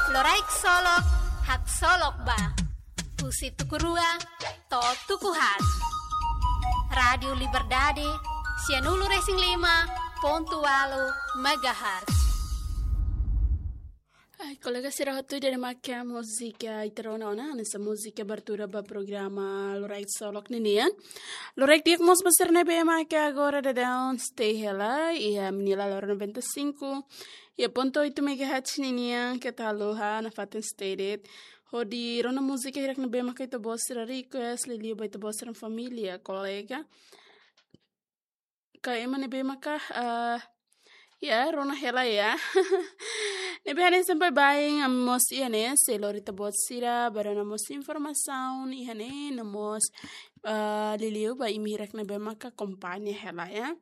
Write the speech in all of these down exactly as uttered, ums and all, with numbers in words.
Loraik Solok, haksolok ba. Husi tuku rua to'o tuku haat. Rádiu Liberdade, sianulu-resin-lima pontu ualu megahertz. Ai, kolega sira hotu, ida-ne'e maka múzika ita rona ona, hanesan múzika abertura ba programa Loraik Solok ninian. Loraik di'ak mós ba sira ne'ebé maka agora daudaun stay hela iha Minilala noventa e cinco ponto oito megahertz ninian, keta haluha nafatin stay de'it hodi rona múzika hirak ne'ebé maka ita-boot sira request, liuliu ba ita-boot sira família, kolega, ka ema ne'ebé maka, ah, ya, rona hela ya. Ne'ebé hanesan baibain, ami mós iha ne'e sei lori ita-boot sira ba rona mós informasaun iha ne'e, no mós, ah, liuliu ba imi hirak ne'ebé maka akompaña hela ya.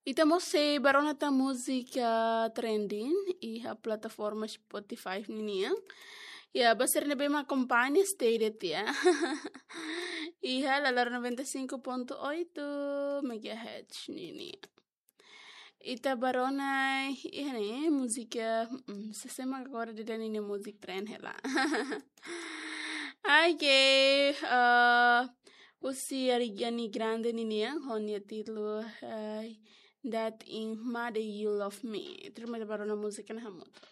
Ita mós sei ba rona tan múzika trending iha plataforma Spotify ninian. Ya, ba sira ne'ebé mak akompaña stay de'it ya. Iha Lalar noventa e cinco ponto oito megahertz ninian. Ita ba rona iha ne'e múzika, mm, sé mak agora daudaun ne'e múzika trend hela. Ai, ke, ah, husi Ariana Grande ninian, ho nia títulu, ai, That in Made You Love Me. Tuirmai ita ba rona múzika ne'e hamutuk.